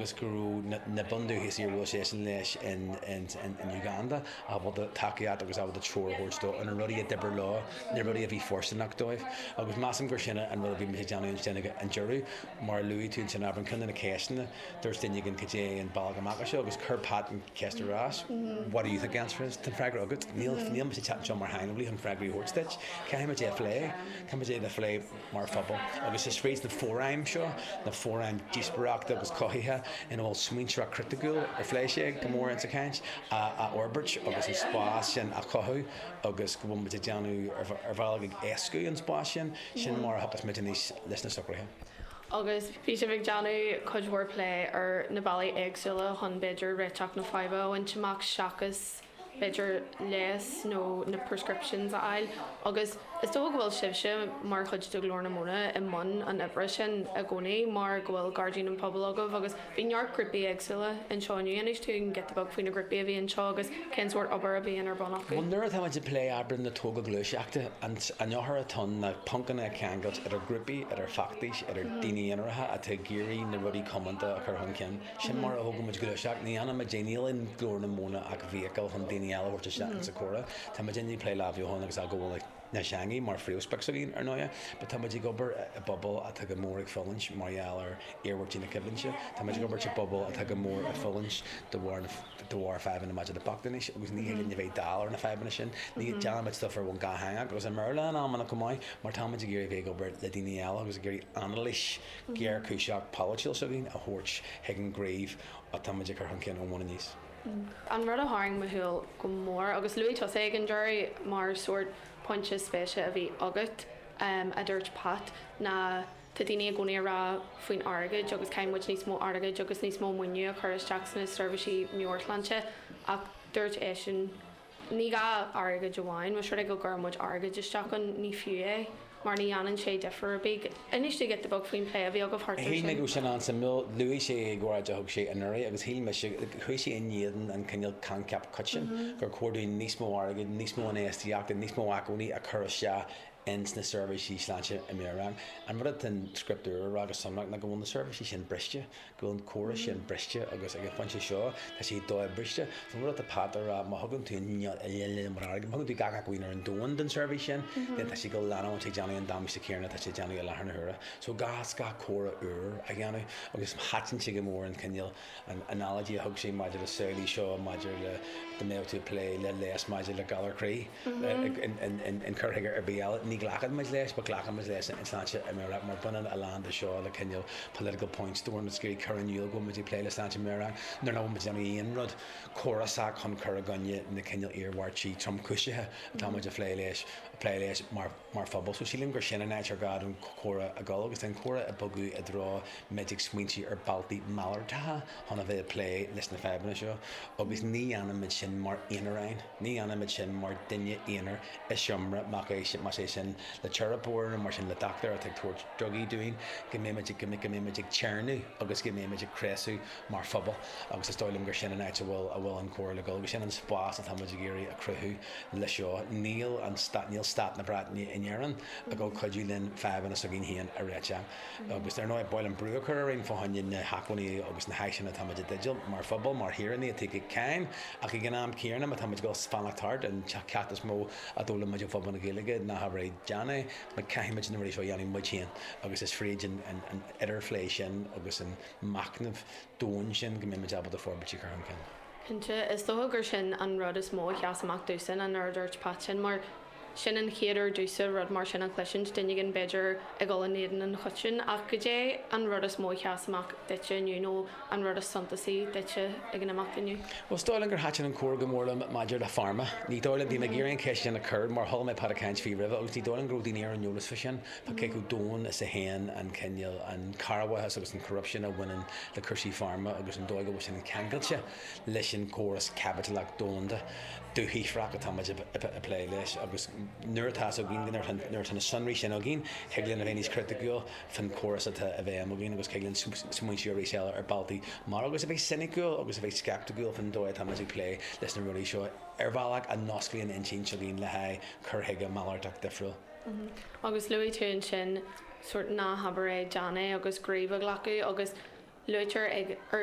agus go raibh na bundúchasaigh a bhuail seisean leis in Uganda ábalta tacaíocht agus ábalta treoir a thabhairt dó ar na rudaí a d'oibrigh leo, na rudaí a bhí fóirsteanach dóibh. Agus measaim gur sin an rud a bhí muid ag déanamh ansin ag an deireadh. Mar a luaigh tú ansin, Aibreán, ceann de na ceisteanna, dúirt duine éigin cad é an bealach amach as seo agus chuir Pat an cheist ar ais, What do you think the answer is? Tá an freagra agat. Níl, níl mise ag teacht anseo mar shaineolaí chun freagraí a thabhairt duit. Caithfidh muid é a phlé. Caithfidh muid é a phlé mar phobal. Agus is fríd na fóraim seo, na fóraim díospóireachta agus cothaithe ina bhfuil smaointeoireacht chriticiúil, ar phléigh sé go mór insa chaint, a fhorbairt agus an spás sin a chothú agus go bhfuil muid ag déanamh, ar bhealach ag éascú an spás sin, sin mar a thiocfas muid aníos leis na socruithe. Agus bhí sibh ag déanamh cuid mhór plé ar na bealaí éagsúla chun b'fhéidir réiteach na faidhbe a bhaint amach seachas b'fhéidir leigheas nó na prescriptions a fháil agus is dócha go bhfuil sibhse mar chuid de Ghlór na Móna i mbun an oibre sin i gcónaí mar go bhfuil Gairdín an Phobail agaibh agus bhí neart grúpaí éagsúla anseo inniu. Inis dúinn giota beag faoi na grúpaí a bhí anseo agus cén sórt obair a bhíonn ar bun acu. Bhuel nuair atá muid ag plé abair na togha gluaiseachta, an eochair atá ann ná poncanna a cheangailt idir grúpaí, idir feachtais, idir daoine aonaracha atá ag iarraidh na rudaí comónta a chur chun cinn. Sin mar a thógann muid gluaiseacht. Ní dhéanann muid é, níl in Glór na Móna ach vehicle chun daoine eile a thabhairt isteach insa chomhrá. Tá muid i ndiaidh plé lámh agus athghabháil na teangaí mar phríomhsprioc s'againn, ar ndóighe, but tá muid ag obair i bpobal atá go mór ag fulaingt mar gheall ar iarmhairtí na coimhlinte. Tá muid ag obair i bpobal atá go mór ag fulaingt de bharr de bharr fadhbanna maidir le bochtaineas agus ní thig linn a bheith dall ar na fadhbanna sin. Ní déanann muid stuff ar bhonn dátheangach agus i mBéarla in amanna chomh maith mar tá muid ag iarraidh a bheith ag obair le daoine eile agus ag iarraidh anailís ghéarchúiseach polaitiúil s'againn a thabhairt chuig an gcraobh atá muid ag cur chun cinn ón bhun aníos. An rud a tharraing mo shúil go mór, agus luaigh tusa ag an deireadh mar sórt pointe spéise a bhí agat, a dúirt Pat, ná tá daoine i gcónaí ag rá faoin airgead agus caithfidh muid níos mó airgid agus níos mó maoiniú a chur isteach sna seirbhísí meabhairshláinte ach dúirt eisean Ní gá airgead amháin, más rud é go gcuireann muid airgead isteach ann, ní fiú é, mar ní dhéanann sé difear ar bith. Inis dúinn giota beag faoin plé a bhí agaibh thart air Shíl mé sin. go raibh sin an-suimiúil. Luaigh sé i gcomhráid a thug sé anuraidh agus shíl mise, chuaigh sé in éadan an cineál coincheap coiteann gur chóir dúinn níos mó airgid, níos mó infheistíochta, níos mó acmhainní a chur isteach ins na seirbhísí sláinte meabhrach. An rud atá an script úr a rá go sonrach ná go bhfuil na seirbhísí sin briste, go bhfuil an córas sin briste agus ag an phointe seo tá sé do-briste. So an rud atá Pat a rá, má thugann tú an iliomad airgid, má thugann tú gach acmhainn ar an domhan don seirbhís sin, then tá sé ag leanúint ag déanamh an damáiste céanna atá sé ag déanamh i láthair na huaire. So gá gá comhrá úr a dhéanamh agus thaitin sé go mór an cineál an analogy a thug sé maidir le samhlaigh seo maidir le dá mbeadh tú ag plé le leigheas maidir le galar croí in cur chuige ar bith eile. Ní ghlacann muid leis, but glacann muid leis in sláinte meabhrach mar baineann a lán de seo le cineál political point scoring is ag cur in iúl go bhfuil muid ag plé le sláinte meabhrach nuair nach bhfuil muid ag déanamh aon rud córasach chun cur i gcoinne na cineál iarmhairtí tromchúiseacha atá muid ag plé leis plé leis mar mar phobal. So sílim gur sin an áit ar gá don chomhrá a dhul agus tá an comhrá ag bogadh i dtreo muid ag smaointiú ar bealtaí malartacha chun a bheith ag plé leis na fadhbanna seo agus ní dhéanaimid sin mar aonaráin, ní dhéanaimid sin mar duine aonair i seomra, más é sin le teiripeoir nó mar sin le dochtúir atá ag tabhairt drugaí dúinn, go mbeimid go mbeimid ag téarnamh agus go mbeimid ag craosú mar phobal agus is dóigh liom gur sin an áit a bhfuil a bhfuil an comhrá le dul agus sin an spás atá muid ag iarraidh a chruthú le seo. Níl an stát, níl stát na Breataine in Éirinn ag dul cuidiú linn fadhbanna s'againn féin a réiteach. Agus ar ndóigh, ba mhaith liom brú a chur orainn fá choinne na hacmhainní agus na háiseanna atá muid i dteideal mar phobal, mar shaoránaigh atá ag íoc cáin. Ach ag an am céanna, má tá muid ag dul fanacht thart, an ceacht is mó a d'fhoghlaim muid ó phobal na Gaeilge ná habair é, déan é, mar caithfidh muid na rudaí seo a dhéanamh muid féin. Agus is fríd an idirphlé sin agus an machnamh domhain sin go mbeidh muid ábalta forbairtí a chur chun cinn. Cinnte, is dócha gur sin an rud is mó a sheas amach domhsa ná nuair a dúirt Pat sin, mar sin an chéad uair domhsa rud mar sin a chloisint, duine éigin b'fhéidir ag dul in éadan an choiteann. Ach goidé an rud is mó a sheas amach duitse inniu nó an rud is suntasaí duitse ag an imeacht inniu? Bhuel, is dóigh liom gur thaitin an comhrá go mór liom maidir le pharma. Ní dóigh liom, bhí mé ag iarraidh an cheist sin a chur mar chuala mé Pat ag caint faoi roimhe agus ní dóigh liom go raibh daoine ar an eolas fá sin. Tá cé chomh domhain is a théann an cineál, an corrmhaitheas agus an corruption a bhaineann le cúrsaí pharma agus an dóigh go bhfuil sin ceangailte leis an gcóras caipitleach domhanda dúshaothrach atá muid ag plé leis agus nuair atá fhios againn, nuair atá na sonraí sin againn, thig linn a bheith níos criticiúil faoin chóras atá i bhfeidhm againn agus thig linn smaointiú arís eile ar bealtaí mar agus a bheith soiniciúil agus a bheith sceipticiúil faoin dóigh atá muid ag plé leis na rudaí seo ar bhealach a n-osclaíonn intinn s'againn le haghaidh cur chuige malartach difriúil. Agus luaigh tú ansin sórt ná habair é, déan é agus gníomh a ghlacadh agus luaitear ag, ar.